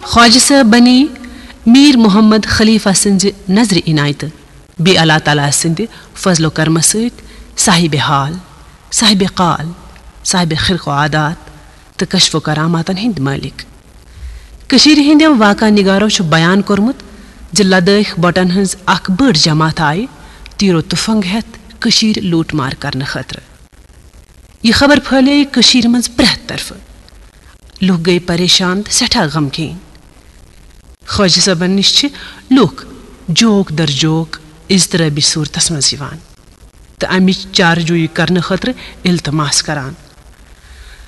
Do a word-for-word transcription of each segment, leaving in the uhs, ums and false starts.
خواجہ صٲب بنی میر محمد خلیفہ سٕنٛزِ نظرِ عنایتہٕ بیٚیہِ اللہ تعالیٰ سٕنٛدِ فضل و کرمہٕ سۭتۍ صاحبِ حال، صاحبِ قال، صاحبِ خرق و عادات تہٕ کشف و کراماتن ہٕنٛدۍ مٲلِک۔ کٔشیٖرِ ہٕنٛدٮ۪و واقعہ نگارو چھُ بیان کوٚرمُت زِ لدٲخۍ بٹن ہٕنٛز اکھ بٔڑ جماعت آیہِ تیٖر و تُفنگ ہٮ۪تھ کٔشیٖر لوٗٹ مار کرنہٕ خٲطرٕ۔ یہِ خبر پھٲلیے کٔشیٖرِ منٛز پرٛٮ۪تھ طرفہٕ۔ لُکھ گٔیہِ پریشان تہٕ سٮ۪ٹھاہ غمگیٖن۔ خواجہ صٲبن نِش چھِ لُکھ جوک در جوک اضطرابی صوٗرتس منٛز یِوان تہٕ امِچ چارجویی کرنہٕ خٲطرٕ التماس کران۔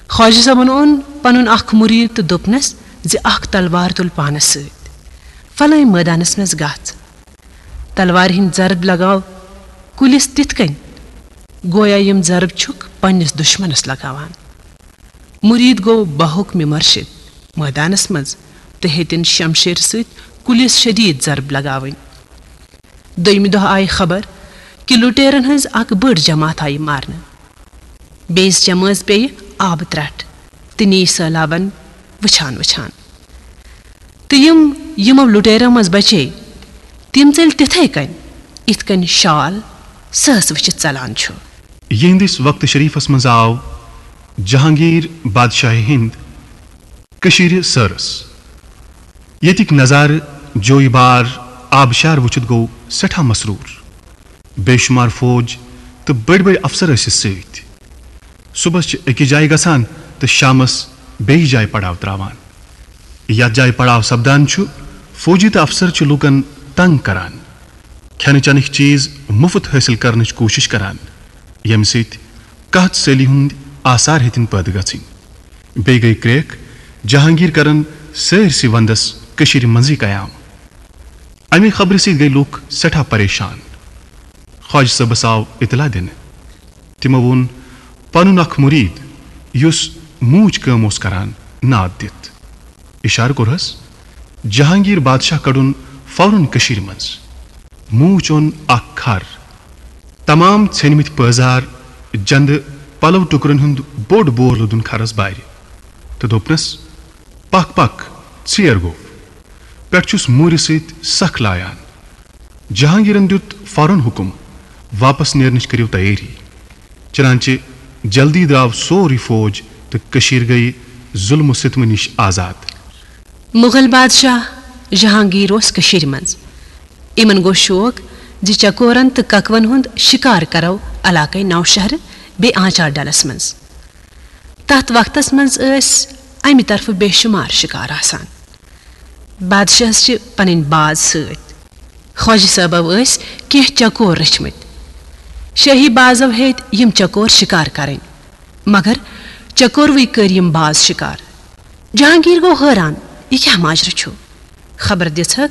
خواجہ صٲبن اوٚن پنُن اکھ مُریٖد تہٕ دوٚپنس زِ اکھ تلوار تُل پانس سۭتۍ، فلٲنۍ مٲدانس منٛز گژھ۔ تلوارِ ہٕنٛدۍ ضرب لگاو کُلِس تِتھ کٔنۍ، گویا یِم ضرب چھُکھ پننِس دُشمنس لگاوان۔ مُریٖد گوٚو بحکمِ مرشد مٲدانس منٛز تہٕ ہیٚتِن شمشیر سۭتۍ کُلِس شدیٖد ضرب لگاوٕنۍ۔ دوٚیمہِ دۄہ آیہِ خبر کہِ لُٹیرن ہٕنٛز اکھ بٔڑ جماعت آیہِ مارنہٕ۔ بیٚیِس جمٲژ پیٚیہِ آبہٕ ترٛٹھ تہٕ نیٖرۍ سٔہلابن وٕچھان وٕچھان۔ تہٕ یِم یِمو لُٹیرو منٛز بچے، تِم ژٔلۍ تِتھے کٔنۍ، یِتھ کٔنۍ شال سٕہس وٕچھِتھ ژلان چھُ۔ یِہنٛدِس وقتہٕ شریٖفس منٛز آو جہانگیر بادشاہہِ ہِنٛد کٔشیٖرِ سٲرس۔ ییٚتِکۍ نظارٕ، جویہِ بار، آبشار وٕچھِتھ گوٚو سٮ۪ٹھاہ مسرور۔ بے شمار فوج تہٕ بٔڑۍ بٔڑۍ افسر ٲسِس سۭتۍ۔ صُبحس چھِ أکِس جایہِ گژھان تہٕ شامس بیٚیِس جایہِ پڑاو تراوان۔ یتھ جایہِ پڑاو سپدان چھُ، فوجی تہٕ افسر چھِ لوٗکن تنگ کران، کھٮ۪نہٕ چٮ۪نٕکۍ چیز مُفت حٲصِل کرنٕچ کوٗشِش کران، ییٚمہِ سۭتۍ قحط سٲلی ہُنٛد آثار ہیٚتِن پٲدٕ گژھٕنۍ۔ بیٚیہِ گٔیہِ کرٛیکھ، جہانگیر کرن سٲرسٕے ونٛدس کٔشیٖرِ منٛزٕے قیام۔ امہِ خبرِ سۭتۍ گٔیہِ لوٗکھ سٮ۪ٹھاہ پریشان۔ خواجہ صٲبس آو اطلاع دِنہٕ۔ تِمو ووٚن پنُن اکھ مُریٖد، یُس موٗچ کٲم اوس کران، ناد دِتھ۔ اِشارٕ کوٚرہس جہانگیر بادشاہ کڑُن فوراً کٔشیٖرِ منٛز۔ موٗچ اوٚن اکھ کھر۔ تمام ژھیٚنمٕتۍ پٲزار، جندٕ، پلو ٹُکرن ہُنٛد بوٚڑ بور لوٚدُن کھرس بارِ تہٕ دوٚپنس، "پکھ پکھ، ژیر گوٚو۔ پٮ۪ٹھ چھُس موٗرِ سۭتۍ سکھ لایان۔" جہانگیرن دیُت فوراً حُکم، "واپس نیرنٕچ کٔرِو تیٲری۔" چنانچہ جلدی درٛاو سورُے فوج تہٕ کٔشیٖر گٔیہِ ظُلمہٕ ستمہٕ نِش آزاد۔ مغل بادشاہ جہانگیر اوس کٔشیٖرِ منٛز۔ یِمن گوٚو شوق زِ چکورن تہٕ ککوَن ہُنٛد شِکار کرو علاقے نوشہرٕ بیٚیہِ آنچار ڈلس منٛز۔ تتھ وقتس منٛز ٲسۍ امہِ طرفہٕ بے شمار شِکار آسان۔ بادشاہس چھِ پنٕنۍ باز سۭتۍ۔ خۄجہِ صٲبو ٲسۍ کینٛہہ چکور رٔچھمٕتۍ۔ شٲہی بازو ہیٚتۍ یِم چکور شِکار کرٕنۍ، مگر چکوروٕے کٔرۍ یِم باز شِکار۔ جہانگیر گوٚو حٲران، یہِ کیٛاہ ماجرٕ چھُ؟ خبر دِژہکھ